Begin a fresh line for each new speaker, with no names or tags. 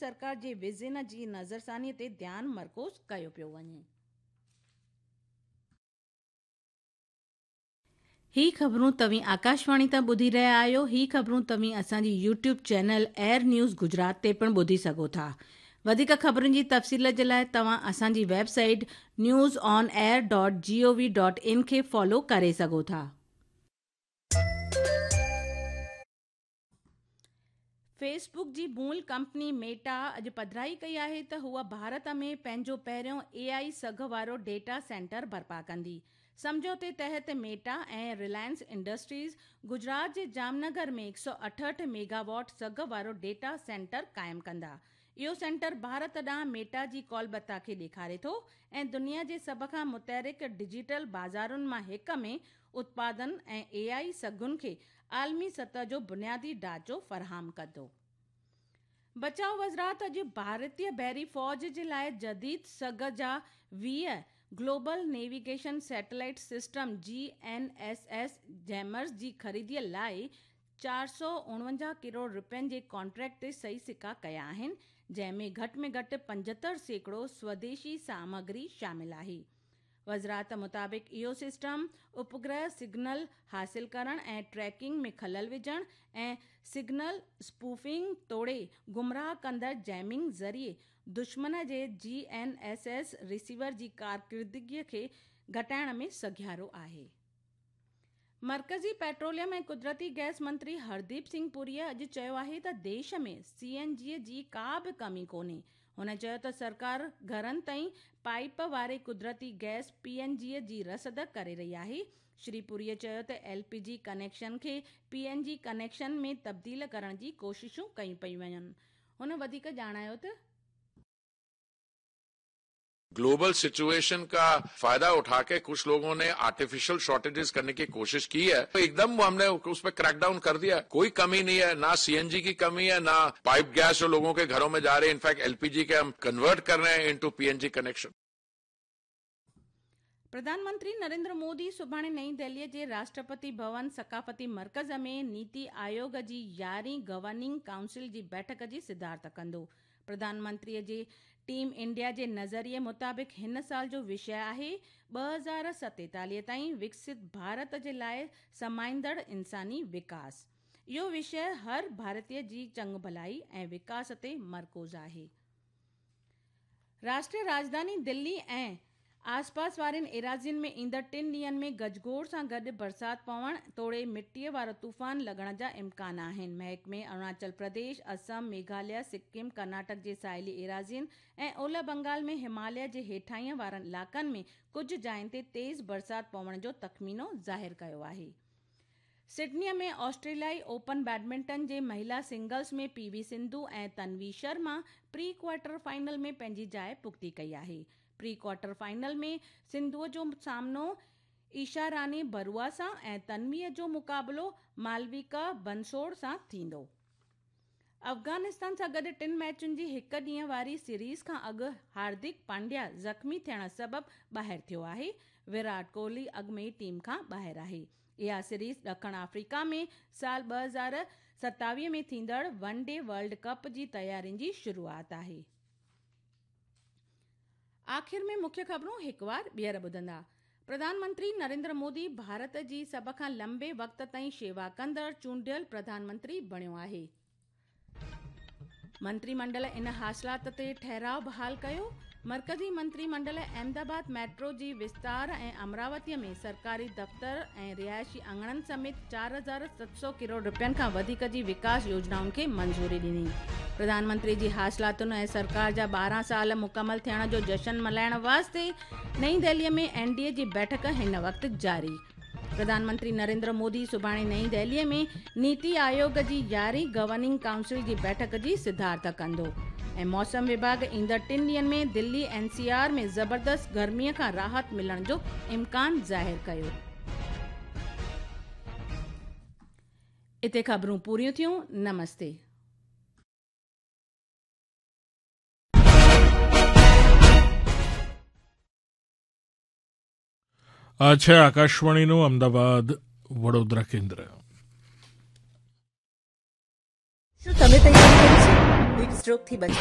سرڪار جي ويزن جي نظرثاني تي ڌيان مرڪوز ڪيو پيو وڃي. هي خبرون توهين آڪاشواڻي تان ٻڌي رهيا آهيو. هي خبرون توهين اسان جي YouTube channel air news Gujarat تي پڻ ٻڌي سگهو ٿا. وڌيڪ خبرن جي تفصيل جي لاء توهان اسان جي website news on air dot G O V dot in کي فالو ڪري سگهو ٿا. فيس بڪ جي مول ڪمپني ميٽا اڄ پڌرائي ڪئي آهي ته هوء ڀارت ۾ پنهنجو پهريون اي آء سگهه وارو ڊيٽا سينٽر برپا ڪندي. سمجهوتي تحت ميٽا ۽ رلائنس انڊسٽريز گجرات جي جام نگر ۾ 168 ميگا واٽ سگهه وارو ڊيٽا سينٽر قائم ڪندا. اهو سينٽر ڀارت ڏانهن ميٽا جي ڪالبتا کي ڏيکاري ٿو ۽ دنيا جي سڀ کان متحرڪ ڊجيٽل بازارن مان هڪ ۾ اتپادن ۽ اي آء سگهن کي عالمي سطح جو بنيادي ڍانچو فراهم ڪندو. بچاء وزارت اڄ ڀارتي بحري فوج جي لاء جديد سگهه جا 20 global navigation satellite system, G N S S, jammers جي خريدي لاء 449 ڪروڙ رپين جي ڪانٽريڪٽ تي صحيح سڪا ڪيا آهن، جنهن ۾ گهٽ ۾ گهٽ 75% سوديشي سامگري شامل آهي. وزارت مطابق اهو سسٽم اپگرهه سگنل حاصل ڪرڻ ۽ ٽريڪنگ ۾ خلل وجهڻ ۽ سگنل اسپوفنگ توڙي گمراهه ڪندڙ جيمنگ ذريعي دشمن جي جي اين ايس ايس رسيور جي ڪارڪردگي کي گهٽائڻ ۾ سگهارو آهي. مرڪزي پيٽروليم ۽ قدرتي گئس منتري هرديپ سنگهه پوريء اڄ چيو آهي ته ديش ۾ سي اين جي جي ڪا به ڪمي ڪونهي. هن چيو ته سرڪار گهرن تائين پائيپ واري قدرتي گئس، پي اين جي، جي رسد ڪري رهي آهي. شري پوريء چيو ته ايل پي جي ڪنيڪشن کي پي اين جي ڪنيڪشن ۾ تبديل ڪرڻ جي ڪوششون ڪيون پيون وڃن. هن وڌيڪ ڄاڻايو ته.
ग्लोबल सिचुएशन का फायदा उठा के कुछ लोगों ने आर्टिफिशियल शॉर्टेजेस करने की कोशिश की है, तो एकदम हमने उस पर क्रैकडाउन कर दिया। कोई कमी नहीं है, ना सीएनजी की कमी है, ना पाइप गैस जो लोगों के घरों में जा रही है। इनफैक्ट एलपीजी के हम कन्वर्ट कर रहे हैं इनटू पीएनजी कनेक्शन।
प्रधानमंत्री नरेंद्र मोदी सुभाणे नई दिल्लीअ जे राष्ट्रपति भवन सकाफ़ती मर्कज़ में नीति आयोग जी 11हीं गवर्निंग काउंसिल जी बैठक जी सिदारत कंदो। प्रधानमंत्रीअ जे टीम इंडिया जे नज़रिए मुताबिक़ हिन साल जो विषय आहे 2047 ताईं विकसित भारत जे लाइ समाईंदड़ इंसानी विकास। इहो विषय हर भारतीय जी चङु भलाई ऐं विकास ते मरकूज़ आहे। राष्ट्रीय राजधानी दिल्ली ऐं आसपास वारनि एराज़ियुनि में ईंदड़ टिनि ॾींहंनि में गजगोड़ सां गॾु बरसाति पवण तोड़े मिटीअ वारो तूफ़ान लॻण जा इम्कान आहिनि। महकमे अरुणाचल प्रदेश, असम, मेघालय, सिक्किम, कर्नाटक जे साहिली एराज़ियुनि ऐं ओलह बंगाल में हिमालय जे हेठाईं वारनि इलाइक़नि में कुझु जाइनि ते तेज़ बरसाति पवण जो तख़मीनो ज़ाहिर कयो आहे। सिडनीअ में ऑस्ट्रेलियाई ओपन बैडमिंटन जे महिला सिंगल्स में पी वी सिंधु ऐं Tanvi Sharma pre quarter final में पंहिंजी जाइ पुख़्ती कई आहे। प्री क्वार्टर फाइनल में सिंधुअ जो सामनो ईशा रानी बरुआ सां ऐं तन्वीअ जो मुक़ाबिलो मालविका बंसोड़ सां थींदो। अफ़ग़ानिस्तान सां गॾु टिनि मैचुनि जी हिकु ॾींहं वारी सीरीज़ खां अॻु हार्दिक पांड्या ज़ख़्मी थियण सबबु ॿाहिरि थियो आहे। विराट कोहली अॻु में ई टीम खां ॿाहिरि आहे। इहा सीरीज़ ॾखण आफ़्रीका में साल 2027 में थींदड़ वन डे वर्ल्ड कप जी तयारियुनि जी शुरूआत आहे। आख़िर में मुख्य ख़बरूं हिकु वार ॿीहर ॿुधंदा। प्रधानमंत्री नरेंद्र मोदी भारत जी सभ खां लंबे वक़्त ताईं शेवा कंदड़ चूंडियल प्रधानमंत्री बणियो आहे। मंत्रीमंडल इन हासिलात ते ठहिराव बहाल कयो। मर्कज़ी मंत्रीमंडल अहमदाबाद मेट्रो जी विस्तार ऐं अमरावतीअ में सरकारी दफ़्तर ऐं रिहाइशी आङणनि समेत 4700 करोड़ रुपयनि खां वधीक जी विकास योजनाउनि खे मंज़ूरी ॾिनी। प्रधानमंत्री जी हासिलातुनि ऐं सरकार जा 12 साल मुकमल थियण जो जशन मल्हाइण वास्ते नई दिल्लीअ में एन डी ए जी बैठक हिन वक़्तु जारी। प्रधानमंत्री नरेंद्र मोदी सुभाणे नई दिल्लीअ में नीति आयोग जी 11हीं गवर्निंग काउंसिल जी बैठक जी सिदारत कंदो। ऐं मौसम विभाग ईंदड़ टिनि ॾींहंनि में दिल्ली एन सी आर में ज़बरदस्त गर्मीअ खां राहत मिलण जो इम्कान ज़ाहिर कयो। इते ख़बरूं पूरियूं थियूं। नमस्ते।
આ છે આકાશવાણીનું અમદાવાદ વડોદરા કેન્દ્ર.
શું તમે તૈયારી કરી છે હીટ સ્ટ્રોકથી બચવા?